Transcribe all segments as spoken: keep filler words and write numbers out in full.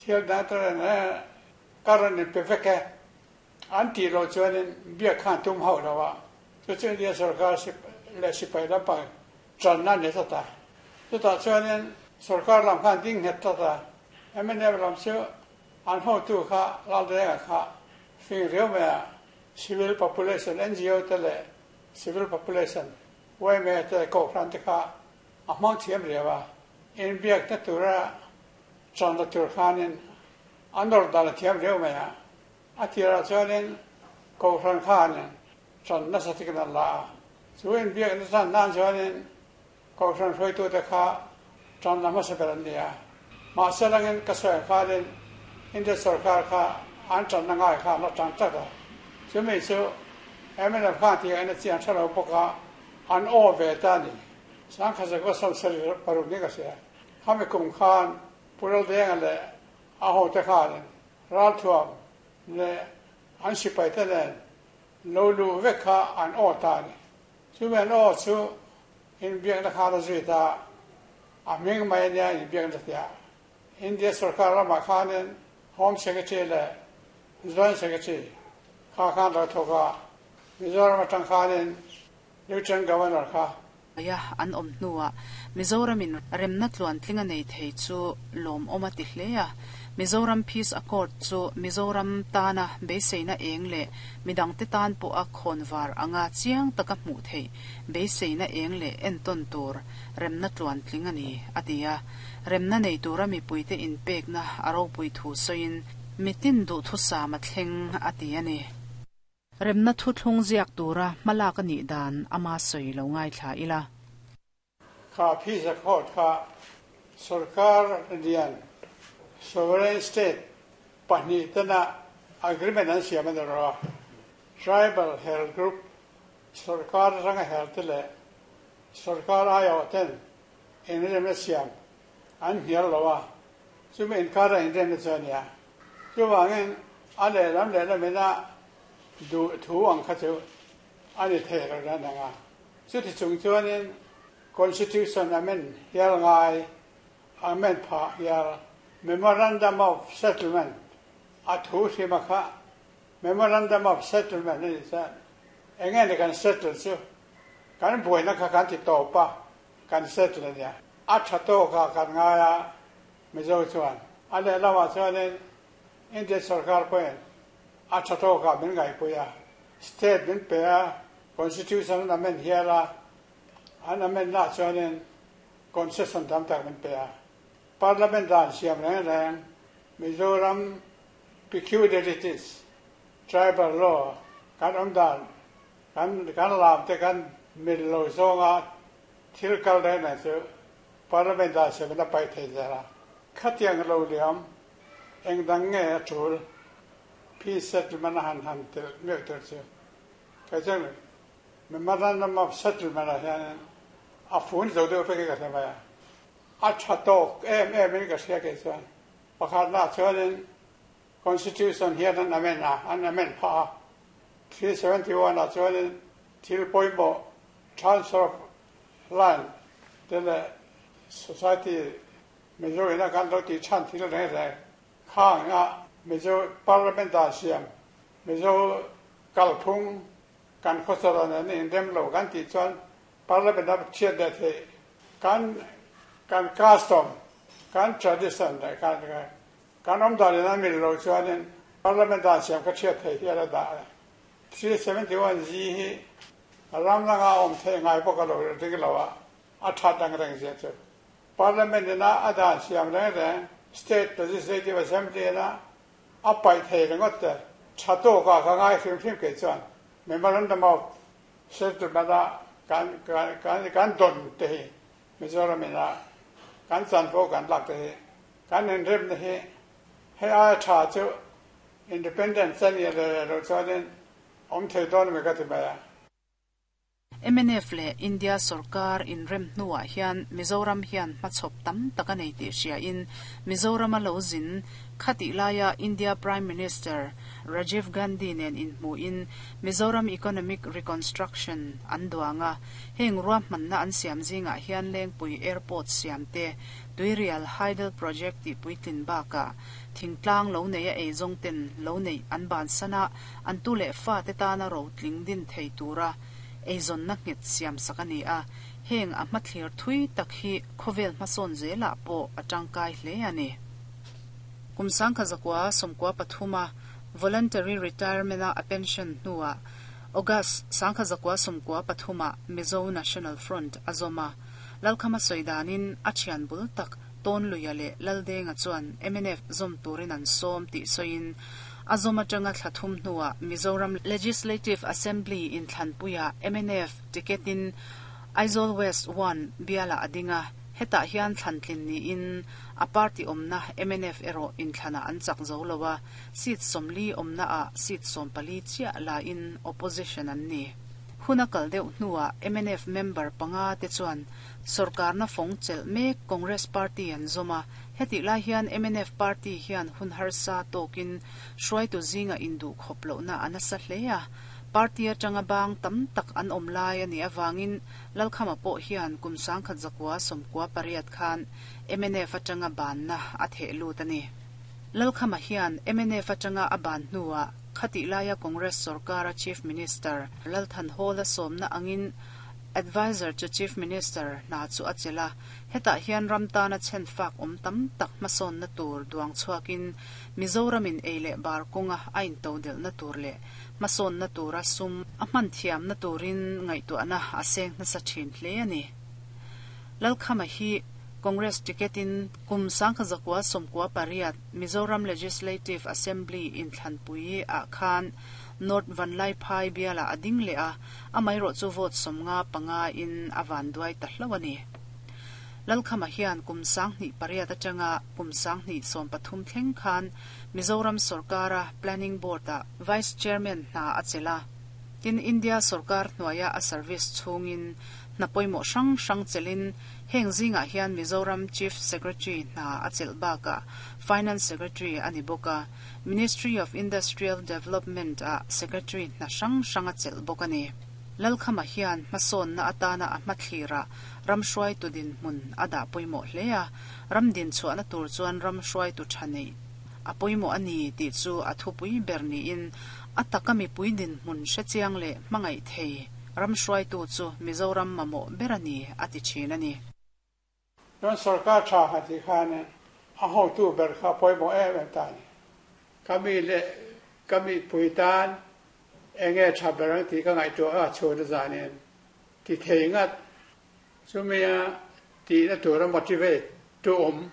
Thil dang te reng reng ka rawn inpe vek e. An tih loh chuanin biak khan tum hauh lo a, chu chu India sorkar leh sipai lampang tanna a ni tlat a. Chutah chuanin sorkar lam khan ding nghet tlat a, M N F lam chu an hotu kha Laldenga kha fing riau mai a, civil population N G O te leh civil population Y M A te kohhran te kha a hmang thiam riau a, inbiakna tura tanna tur khanin an nawr dan a thiam riau mai a. A tirah chuanin kohhran khanin tan nasa takin an la a, chu inbiakna tan nan chuanin kohhran hruaitute kha tan la hmasa ber an ni a. Mahse langin ka sawi khanin India sorkar kha an tanna ngai kha an la tan tlat a, chumi chu M N F khan tih an chian tha lo bawk a, an aw ve ta ni. Sangkhat zakua sawm sarih paruk ni ka hria, khami kum khan Pu Laldenga leh a hote khanin ralthuam leh an sipai te nen lo lu vek kha an aw ta ni. Chumi an aw chu inbiakna khan a zui ta a, hming mai ania inbiakna tia. India sorkar ramah khanin Home Secretary leh Joint Secretary kha khan lo thawk a, Mizoram atang khanin Lieutenant Governor kha. Ya an awm hnuah Mizoramin remna tluan tlinga nei thei chu lawm awm a ti hle a. Mizoram Peace Accord chu Mizoram tana beiseina eng leh midang te tan pawh a khawnvar anga chiang taka hmuh theih beiseina eng leh entawn tur remna tluan tling ani a ti a. Remna nei tura mipuite inpekna a ropui thu sawiin mitin duh thusam a thleng a ti ani. Remna thu thlung ziak tura hmalak ani dan ama sawi lo ngai thla ila. Kha Peace Accord kha sarkar lian sovereign state pahnih tena agreement an siam ani ro. Tribal health group sarkar ranga health te leh sarkar aio ten inremna siam an hnial lo a, chumi inkara inremna chu ania. Chuwangin a lehlam lehlamina duh thu ang kha chu ani thei lo na anga. Chuti chung chuanin constitution amend hial ngai amend pha hial. Memorandum of settlement a thu hrima kha memorandum of settlement ani chuan enge ni kan settle chu? Kan buaina kha kan ti tawp a, kan settle ania. A tha tawk a kan ngai a Mizo chuan. A lehlamah chuanin India sarkar pawhin a tha tawk a min ngaihpui a, state min pe a, constitution an amend hial a, an amend na chuanin concession tam tak min pe a. Parliament dan siam reng reng Mizoram peculiarities, tribal law, kan awm dan kan kan lam te kan mil lo zawnga thil kal reng reng chu parliament dan siam in a paih thei zel a. Khatiang lo liam eng dang nge a tul peace settlement a han han tel mek tur chu? Kai chuan memorandum of settlement ah hian a fun zo deuh vek ka hre mai a. A tha tawk em em in ka hria kei chuan. Pakhat na chuanin constitution hian an amend a, an amend pha a. three seventy-one ah chuanin thil pawimawh transfer of land te leh society Mizo ina kan lo ti than thil reng reng khang a Mizo parliament dan siam Mizo kalphung kan khawsara nen inrem lo kan tih chuan parliament a thiat leh thei. Kan kan custom, kan tradition leh kan kan awm dan in a mil lo chuanin parliament dan siam ka thiat thei hial a dah. three seventy-one G hi ram langa awm thei ngai bawk a lo ring lo a, a that ang reng zia chu parliament ina a dan siam reng reng state legislative assembly ina a paih thei ringawt te tha tawk a ka ngai hrim hrim kei chuan. Memorandum of settlement a kan kan kan kan don te hi Mizoram ina kan chanvo kan lak te hi kan inrem na hi hei ai tha chu independent chan ye le lo chuanin awm thei dawn mi ka ti mai a. M N F le India sorkar in rem hnuah hian Mizoram hian hmachhawp tam tak a nei tih hria in Mizoram a lo zin khatih laia India Prime Minister Rajiv Gandhi nen inhmuhin Mizoram Economic Reconstruction an duang a. Heng ruahmanna an siam zingah hian Lengpui Airport siam te, Tuirial Hydel Project tih puitlin bakah thingtlang lo neia eizawng ten lo neih an bansan a, an tu leh fate tana rotling din thei tura eizawnna nghet siam sak a ni a. Heng a hmathlir thui tak hi khawvel hmasawn zelah pawh a tangkai hle a ni. Kum sangkhat zakua sawmkua pathuma voluntary retirement-a a pension hnuah August sangkhat zakua sawmkua pathuma Mizo National Front a zawm a. Lalkhama sawi danin a thian bul tak Tawnluia leh Laldenga chuan M N F zawm turin an sawm tih sawiin a zawm atanga thla thum hnuah Mizoram Legislative Assembly inthlanpuiah M N F ticket-in Aizawl West one bialah a ding a, hetah hian thlantlin niin a party awmna M N F erawh inthlanah an chak zo lo a, seat sawmli awmnaah seat sawmpali chiah lain opposition an ni. Hun a kal deuh hnuah M N F member panga te chuan sorkarna fawng chelh mek Congress party an zawm a, hetih lai hian M N F party hian hun harsa tawkin hruaitu zinga induhkhawp lohna a nasa hle a, party atanga bang tam tak an awm lai a nih avangin Lalkhama pawh hian kum sangkhat zakua sawmkua pariat khan M N F atanga banna a theh lut a ni. Lalkhama hian M N F atanga a ban hnuah khatih laia Congress sorkara Chief Minister Lalthanhawla sawmna angin Advisor to Chief Minister hna chu a chelh a, hetah hian ram tana chhen fak awm tam tak hmasawnna tur duang chhuakin Mizoramin ei leh bar kawnga a intodelhna tur leh hmasawnna tura sum a hman thiamna turin ngaihtuahna a seng nasa thin hle a ni. Lalkhama hi Congress ticket-in kum sangkhat zakua sawmkua pariat Mizoram Legislative Assembly inthlanpui ah khan North Vanlaiphai bialah a ding leh a, amaherawh chu vote sawmnga panga in a van duai ta hlo a ni. Lalkhama hian kum sanghnih pariat atanga kum sanghnih sawm pathum thleng khan Mizoram sorkara Planning Board-ah Vice Chairman hna a chelh a. Tin, India sorkar hnuaia a service chhungin hna pawimawh hrang hrang chelhin heng zingah hian Mizoram Chief Secretary hna a chelh bakah Finance Secretary a ni bawk a, Ministry of Industrial Development-ah Secretary hna hrang hrang a chelh bawk a ni. Lalkhama hian hmasawnna atana a hmathlirah ram hruaitu dinhmun a dah pawimawh hle a, ram din chhuahna tur chuan ram hruaitu tha neih a pawimawh a ni tih chu a thupui ber niin a taka mipui dinhmun hrechiang leh hmangaih thei ram hruaitu chu Mizoram mamawh ber a ni a ti thin a ni. Chuan sorkar tha han tih khan a hotu ber kha pawimawh em em ta a ni. Ka mi leh ka mipui tan eng nge tha ber ang tih ka ngaihtuah a chhun a zanin ti thei ngat. Chumia tihna tura motivate tu awm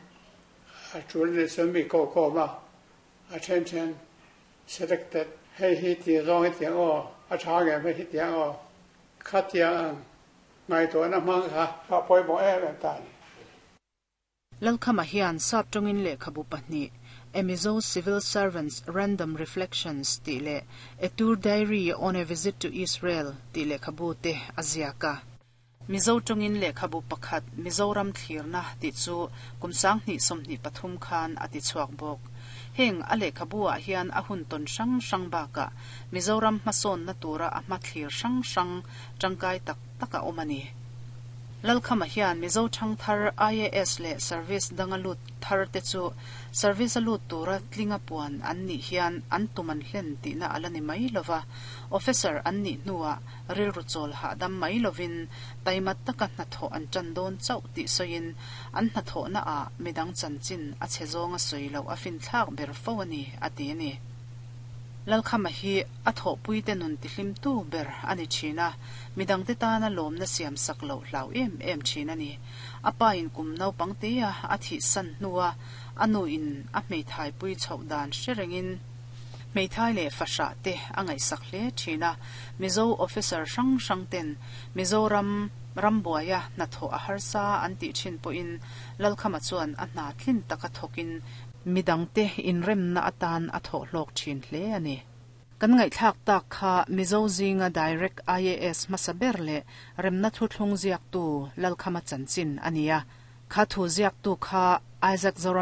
a tul anih chuan mi ko khawm a, a then then selected hei hi tih zawng hi tiang aw, a tha ngem hei hi tiang aw, khatiang ang ngaihtuahna hmang kha kha pawimawh em em ta a ni. Lalkhama hian sap tawngin lehkhabu pahnih A Mizo Civil Servant's Random Reflections tih leh A Tour Diary on a Visit to Israel tih lehkhabu te a ziak a. Mizo tawngin lehkhabu pakhat Mizoram thlirna tih chu kum sanghnih sawmhnih pathum khan a ti chhuak bawk. Heng a lehkhabu ah hian a hun tawn hrang hrang bakah Mizoram hmasawnna tura a hmathlir hrang hrang tangkai tak tak a awm a ni. Lalkhama hian Mizo thangthar I A S leh service danga lut thar te chu service a lut tura tlinga puan an nih hian an tum an hlen tihna a la ni mai lova, officer an nih hnuah rilru chawl hahdam mai lovin taima taka hnathawh an tan dawn chauh tih sawiin an hnathawhna ah midang chanchin a chhe zawnga sawi loh a finthlak ber fo a ni a ti a ni. Lalkhama hi a thawhpui te nun tihlim tu ber a ni thin a, midang te tana lawmna siam sak loh hlau em em thin a ni. A pa in kum naupang te a a thih san hnua a nu in a hmeithai pui chhoh dan hre rengin hmeithai leh fahrah te a ngaihsak hle thin a. Mizo officer hrang hrang ten Mizoram rambuaia hnathawh a harsa an tih thin pawhin Lalkhama chuan a hna tlin taka thawkin midang te inremna atan a thawh hlawk thin hle a ni. Kan ngai thlak tak kha Mizo zinga direct IAS hmasa ber leh remna thu thlung ziak tu Lalkhama chanchin ania kha thu ziak tu kha Isaac Zoram